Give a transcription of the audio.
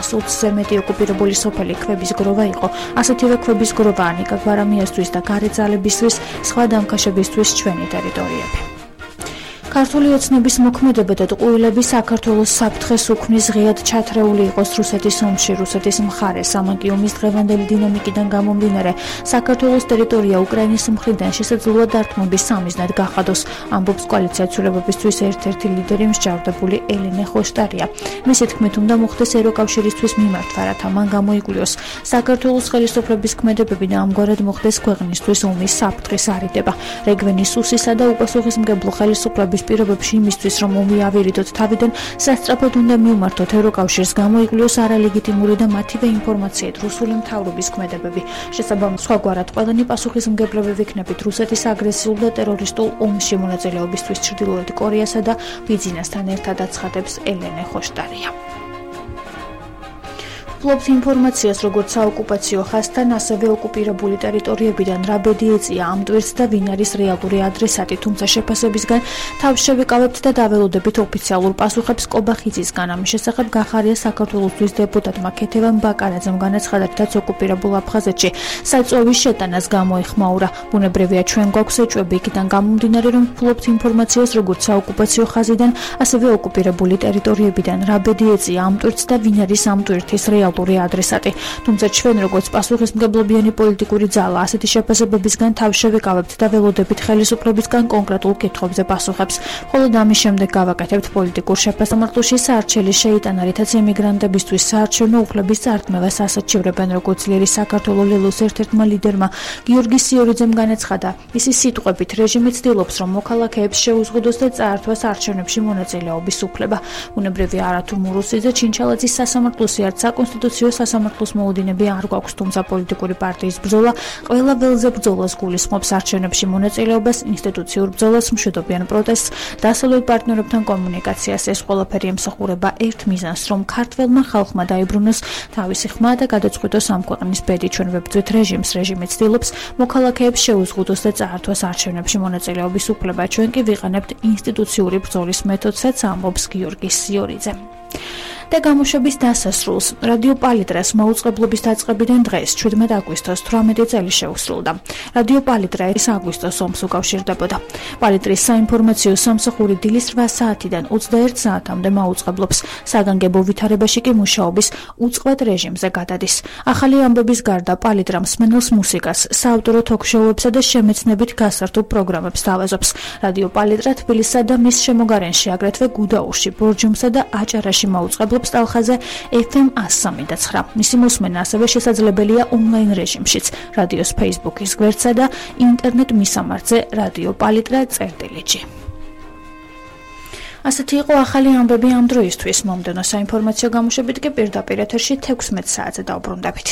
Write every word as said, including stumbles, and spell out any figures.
ათას ოცზე მეტი ოკუპირებული სოფელი ქვების გროვა იყო. ასეთივე ქვების გროვაა ნიკა გვარამიასთვის და გარე ძალებისთვის, სხვა დამქაშებისთვის ჩვენი ტერიტორიები. ქართული ოცნების მოქმედება და ტყუილები საქართველოს საფრთხეს უქმნის ღიად ჩათრეული იყოს რუსეთის ომში. რუსეთის მხარეს ამანკი ომის დღევანდელი დინამიკიდან გამომდინარე საქართველოს ტერიტორია უკრაინის მხრიდან შესაძლოა დარტყმების სამიზნად გახადოს, ამბობს კოალიცია ცვლილებებისთვის ერთ-ერთი ლიდერი მსჯავრდებული ელენე ხოშტარია. მისი თქმით, უნდა მოხდეს ევროკავშირისთვის მიმართვა, რათა მან გამოიკვლიოს საქართველოს ხელისუფლების ქმედებები და ამგვარად მოხდეს ქვეყნისთვის ომის საფრთხის არიდება. რეგვენის უსისა და უპასუხისმგებლო ხელისუფლების პირობებში იმისთვის, რომ ომი ავირიდოთ თავიდან, სასწრაფოდ უნდა მიუმართოთ ევროკავშირს, გამოიკვლიოს არალეგიტიმური და მათივე ინფორმაციით რუსული მთავრობის ქმედებები. შესაბამისად, სხვაგვარად ყველანი პასუხისმგებლები ვიქნებით რუსეთის აგრესიულ და ტერორისტულ ომში მონაწილეობისთვის ჩრდილოეთ კორეასა და ბიძინასთან ერთად, აცხადებს ელენე ხოშტარია. ფლობს ინფორმაციას, როგორც საოკუპაციო ხაზთან, ასევე ოკუპირებული ტერიტორიებიდან რა ბედი ეწია ამ ტვირთს და ვინ არის რეალური ადრესატი, თუმცა შეფასებისგან თავს შევიკავებთ და დაველოდებით ოფიციალურ პასუხებს კობახიძისგან. ამის შესახებ გახარია საქართველოსთვის დეპუტატმა ქეთევან ბაკარაძემ განაცხადა, რაც ოკუპირებულ აფხაზეთში საწვევის შეტანას გამოეხმაურა. ბუნებრივია, ჩვენ გვაქვს ეჭვები იქიდან გამომდინარე, რომ ფლობს ინფორმაციას, როგორც საოკუპაციო ხაზიდან, ასევე ოკუპირებული ტერიტორიებიდან რა ბედი ეწია ამ ტვირთს და ვინ არის ამ ტვირთის რეალური ადრესატი. თუმცა ჩვენ როგორც პასუხისმგებლობიანი პოლიტიკური ძალა ასეთი შეფასებებისგან თავს შევიკავებთ და ველოდებით ხელისუფლებისგან კონკრეტულ კითხვებზე პასუხებს. ხოლო ამის შემდეგ გავაკეთებთ პოლიტიკურ შეფასამართლოში საარჩელის შეიტანა, რითაც ემიგრანტებისთვის საარჩევნო უფლების წარდგმევას ასაჩივრებენ, როგორც ლიერი საქართველოს ლელოს ერთ-ერთმა ლიდერმა გიორგი სიორიძემ განაცხადა. მისი სიტყვებით, რეჟიმი ცდილობს, რომ მოქალაქეებს შეუზღუდოს და წაართვას არჩევნებში მონაწილეობის უფლება. ბუნებრივია, არათუ მურუსიძე, ჩინჩალაძის სასამართლოსი არც საკონსტიტუციო სასამართლოს მოუდინები არ გვაქვს, თუმცა პოლიტიკური პარტიის ბრძოლა ყველა ველზე ბრძოლას გულისხმობს, არჩევნებში მონაწილეობას, ინსტიტუციურ ბრძოლას, მშვიდობიან პროტესტს, დასავლელ პარტნიორებთან კომუნიკაციას. ეს ყველაფერი ემსახურება ერთ მიზანს, რომ ქართველმა ხალხმა დაიბრუნოს თავისი ხმა და გადაწყვიტოს ამ ქვეყნის ბედი. ჩვენ ვებრძვით რეჟიმს, რეჟიმი ცდილობს მოქალაქეებს შეუზღუდოს და წაართვას არჩევნებში მონაწილეობის უფლება. ჩვენ კი ვიყენებთ ინსტიტუციური ბრძოლის მეთოდსაც, ამბობს გიორგი სიორიძე. და გამოშვების დასასრულს რადიო პალიტრას მაუწყებლობის დაწყებიდან დღეს შვიდმეტ აგვისტოს თვრამეტი წელი შეუსრულდა. რადიო პალიტრა ეს აგვისტოს ომს უკავშირდებოდა. პალიტრის საინფორმაციო სამსახური დილის რვა საათიდან ოცდაერთ საათამდე მაუწყებლობს. საგანგებო ვითარებაში კი მუშაობის უწყვეტ რეჟიმზე გადადის. ახალი ამბების გარდა პალიტრა მსმენელს მუსიკას, საავტორო თოქ-შოუებსა და შემეცნებით გასართობ პროგრამებს თავაზობს. რადიო პალიტრა თბილისსა და მის შემოგარენში, აგრეთვე გუდაურში, ბორჯომსა და აჭარაში მაუწყებლობს ტალხაზე ეფ ემ ას სამი და ცხრა. მისი მოსმენა ასევე შესაძლებელია ონლაინ რეჟიმშიც, რადიოს ფეისბუქის გვერდსა და ინტერნეტ მისამართზე რადიო პალიტრა წერტილიჯი. ასეთი იყო ახალი ამბები ამ დროისთვის. მომდევნო საინფორმაციო გამოშვებით კი პირდაპირ ეთერში თექვსმეტ საათზე დავბრუნდებით.